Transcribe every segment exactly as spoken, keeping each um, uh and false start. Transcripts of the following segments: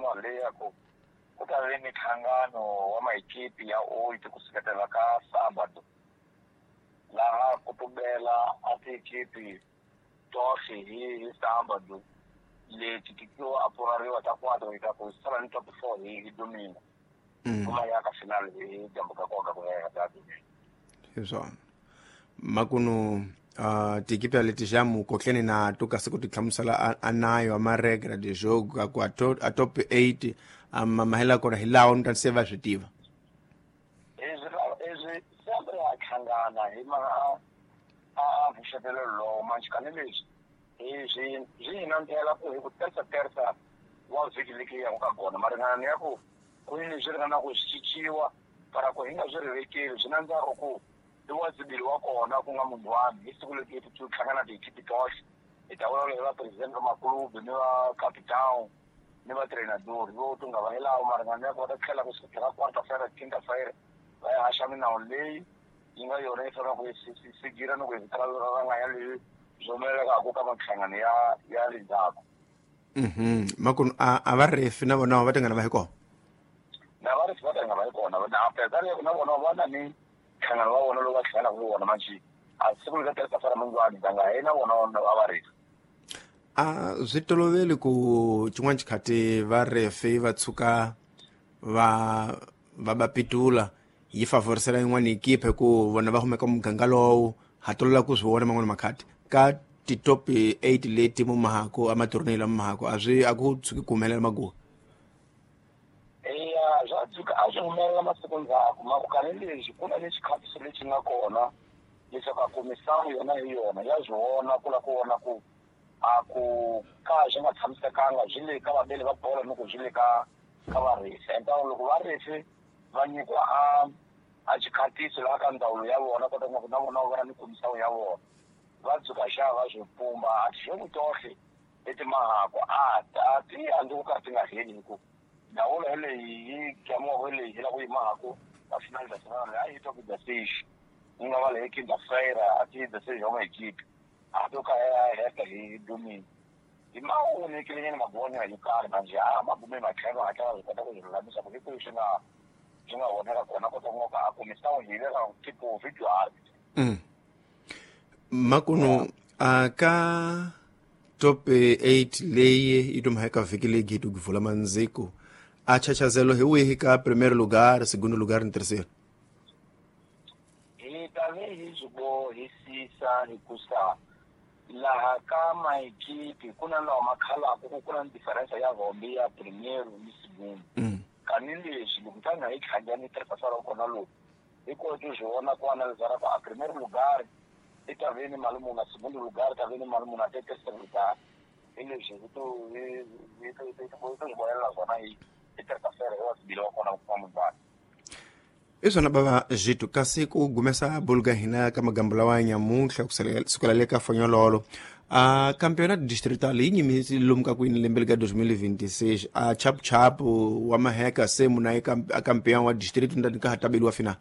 mhaka leyi ya ku ku ta ve minhlangano wa maekipi ya oito ku suketela ka sábado laha ku tumbela a tiekipi tohle hi hi sábado leti ti to apurariwa ta quatro ta ku sala ni top four hi hi domingo kuma ya ka final hi dyambu ka koka ku ya ka domingo hi swona makuno uh, tiekipi leti já mu kotlene na to kasi ku ti hlamusela a nayo a maregra de jogo ka ku a top eight a mahela kona hi lawa ni ta se va swi tiva ezwi sempre a hlangana hi ma a a vuxetelo lowo manjhe leswi hi swi hi nandzela ku hi ku tersa tersa wa vhiki leki ya ka kona maringana ya ku ku ni leswi ringana ku swi cinciwa para ku hi nga swi rivekeli swi nandzaka ku i wa zibili wa kona ku nga munhu wami hi siku leti ti hlangana tiekipi tohle hi ta vulavula hi va president va makulubi ni va capitão ni va treinador vo to nga va hi lawo maringana ya ku va ta tlhela ku sukela quarta feira quinta feira va ya haxa minawu leyi yi nga yona yi fanele ku yi sigira ni ku yi ranganya leyi swi humelelaka ka minhlangano ya ya le ndzhaku. Mhm makunu a a va refi na vona va tingana va hi kona na va refi va tingana va hi kona na apesar ya ku na vona va na ni nhlangano wa vona lowu va hlanganaka hi wona manjhe a siku leri ka teresa fara mungwani nga hi na vona va va refi a swi toloveli ku xin'wana xikhati va refi va tshuka va va va pitula yi favorisela yin'wana ekipa hi ku vona va humeka muganga lowu ha tolovela ku swi vona man'wana makhati ka ti-top eight leti mumahako a matornei lama mahako a swi a ku tshuki ku humelela maguwa eya swa tshuka a swi humelela masiku ndzhaku makukani leswi ku na ni xikhatiso lexi nga kona leswaku a ku misavu yona hi yona ya swi vona ku la ku vona ku a ku ka swi nga tshamisekanga swi le ka vabeli va bolo ni ku swi le ka ka varisi enta loko varisi va nyikiwa a a xikhatiso laha ka ndzawulo ya vona kota ku na vona va ni kumisawu ya vona va dzuka xa va swi pumba a tixoku tohle leti mahako a ta ti andzi ku ka ti nga heli hi ku ndawulo yeleyi yi gamiwaka leyi hi la ku yi mahako ka final da semana a yi twa ku dasish yi nga va leyi quinta feira a ti dasish wa maekipi a to ka ya heta hi domingo hi ma onhekilenyana magonya yo karhi manjhe a magume matlhelo hatla va swi kota ku swi lulamisa ku hi kwihi swi nga swi nga onheka kona kota ku nga a ku misawu hi veka tipo video art. Makuno a ka top eight leyi yi tuma eka vhiki leyi gitu kuvula mandziko a chachazelo hi wihi ka primeiro lugar, segundo lugar ni terceiro? Hi ta ve hi swi bohisisa hikusa laha ka maekipi ku na lawa ma khalaka ku ku na diferensa ya hombe ya primeiro ni segundo. Kani leswi loko tanga hi tlhangani tirhisa ra kona lowu hi koti swi vona ku analizara ku a primeiro lugar i ta ve ni mali muni, segundo lugar ta ve ni mali muni, a terceiro lugar hi leswi hi to hi hi to hi to swi vonelela swona hi hi terça-feira hi wa sibili wa kona ku kuma mubani. I swona bava Zwitu kasi ku gumesa buluka hina ka magambo lawa ya nyamuntlha ku sukela le ka fonyololo a campeonato distrital yi nyimisi lomu ka kwini lembe ka dois mil e vinte e seis a chapu chapu wa maheka se muna yi a campeão wa distrito ndani ka ha tabeliwa final.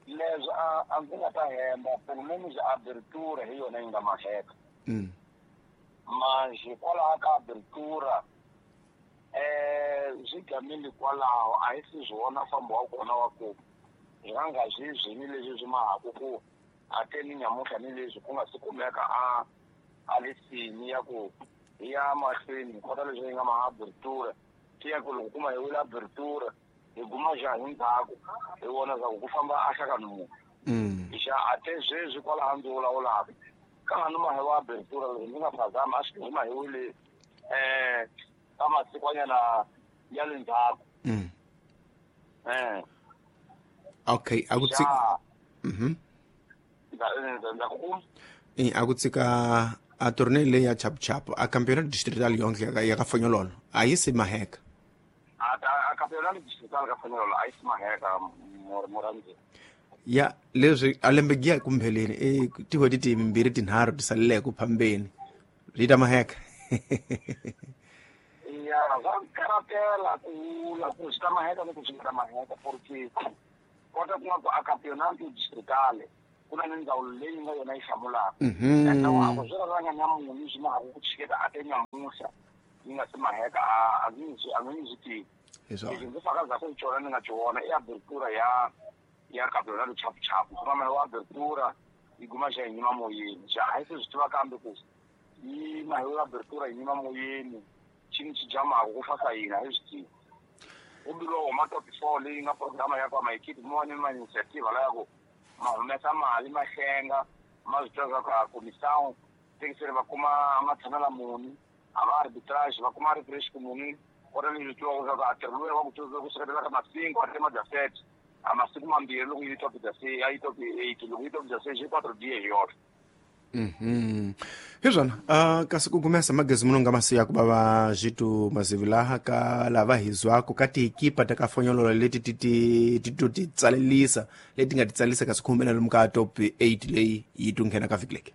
Leswi a a ndzi nga ta hemba pelo menos abertura hi yona yi nga maheka manjhe kwalaho ka abertura eh swi gamile kwalaho a hi si swi vona fambo wa kona wa ku hi nga nga swi zwini leswi swi mahaku ku a te ni nyamuntlha ni leswi ku nga si kumeka a a lisini ya ku hi ya mahlweni hi kota leswi yi nga ma abertura ti ya ku loko kuma hi wile abertura hi guma njhani ndzhaku hi vona swa ku ku famba a hlakani munhu xa a te sweswi kwalaho ndzi vulavulaka ka ha ni mahi wa abertura loko ndzi nga phazami a swi guma hi wile um ka masikwanyana ya le ndzhaku. Eh okay a ku tsika mhm ndza ku eh a ku tsika a torneio leyi ya chapu chapu a campeonato distrital yonke ya ka fonyololo a yi si maheka a a campeonato distrital ka fonyololo a yi si maheka morandzi ya leswi a lembe giya kumpheleni e tin'hweti timbirhi tinharhu ti saleleke ku phambeni ri ta maheka. Ya va karatela ku la ku swi ta maheka ni ku swi ta maheka porque kota ku nga ku a campeonato distrital Ku na ni ndzawulo leyi nga yona yi hlamulaka ende wa ku swi raranga nyamunhu swi ma ha ku chiketa a te nyamuhla yi nga se maheka a ngi a ngi swi tivi lexi ndzi fakazaku hi cona ni nga ci vona i abertura ya ya campeonato chapuchapu kuma wa abertura yi guma xa hi nyima moyeni xa a hi se swi tiva kambe ku yi mahewu abertura yi nyima moyeni xini xi jamaku ku fasa yini a hi swi tivi kumbe huma top four leyi nga programa ya kwa maekipi mo ni ma initiative la ya ku ma humesa mali ma hlenga ma swi tiva ku a comissão tekisele va kuma matshamela muni a va arbitrage va kuma arbitrage ku muni kota ni swi tiva ku a tirho luya wa ku tiva ku seketela ka masingo a tema dix-sept a masiku mambirhi loko yi top dix-sept a yi top eight loko yi top dix-sept xi quatro dias hi yoxe. Mhm. Hi swona uh, kasi ku gumesa magezi muno nga masiya ku va zwitu mazivi laha ka lava hi zwako ka tiekipa ta ka fonyolola leti ti ti ti to ti tsalelisa leti nga ti tsalisa kasi ku humelela lomu ka top eight leyi yi to nghena ka vhiki leke.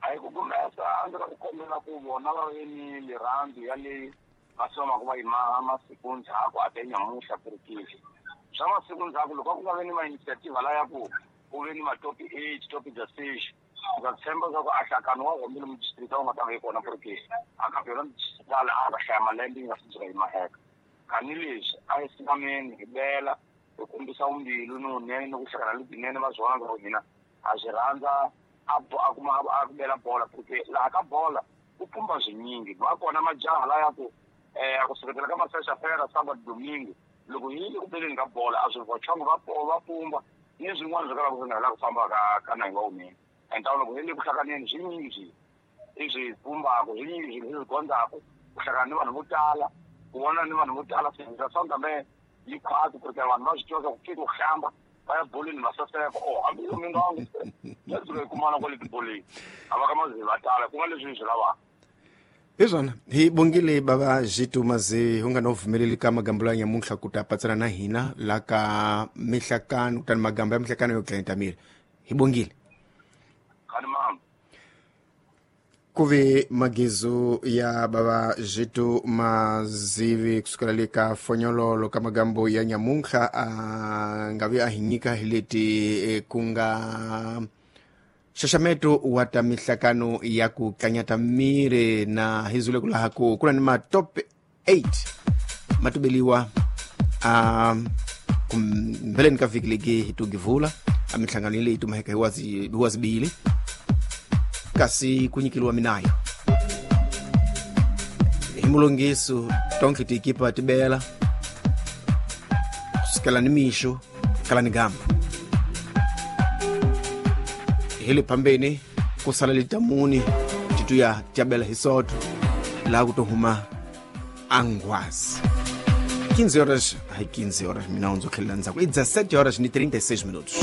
A hi ku gumesa a ndzi ku kombela ku vona va ve ni lirhandzu ya leyi va somaka va yi masiku ndzhaku a te nyamuhla kurikile swa masiku ndzhaku loko a ku nga ve ni ma-initiative la ya ku ku ve ni ma-top eight top dix-sept ndza tshemba leswaku a hlakano wa hombile mudistrict a wu nga ta va yi kona porque a campeonato distrital a va hlaya malembe yi nga si dzika yi maheka kani leswi a hi sinameni hi bela hi kombisa vumbilu ni vunene ni ku hlakana lebyinene va swi vona leswaku hina a swi rhandza a a kuma a ku bela bola porque laha ka bola ku pumba swinyingi va kona majaha la ya ku um ku seketela ka masexafera sábado domingo loko hi le ku beleni ka bola a swi vochongo va va pumba ni swin'wana swi kalaka swi nga la ku famba ka ka nayi wa wunene enta loko hi le ku hlanganeni swinyingi swi i swi pumbaka swinyingi swilo swi gondzaku ku hlangana ni vanhu vo tala ku vona ni vanhu vo tala swa kambe yi khwati ku ri vanhu va swi tiva ku fika ku hlamba va ya boleni va saseka o hambi yo mingangu ya dzula yi kumana kwale tiboleni a va ka mazivi va tala ku nga leswi hi swi lavaka. Hi swona hi bongile bava zwitu mazi hu nga no vumeleli ka magambo ya nyamuntlha ku ta patsana na hina la ka mihlakano kutani magambo ya mihlakano yo dlayeta miri hi bongile. Ku ve magizu ya bava zwitu mazivi kusukela le ka fonyololo ka magambo ya nyamuntlha a nga vi a hi nyika hi leti ku nga xaxameto wa ta mihlakano ya ku tlanyata miri na hi zule ku laha ku ku na ni ma top eight ma tubeliwa a kumbeleni ka vhiki leki hi tugivula a mihlangano leyi tumaheka hi wazi hi wazibili kasi ku nyikeliwa minayo hi mulongiso tonke tiekipa tibela kusukela ni mixo kala ni gamba hi le phambeni ku sala litamuni tituya tyabela hi soto laha ku to huma angwazi quinze horas ai quinze horas mina undzo tlhelela ndzhaku i dezessete horas ni trinta e seis minutos.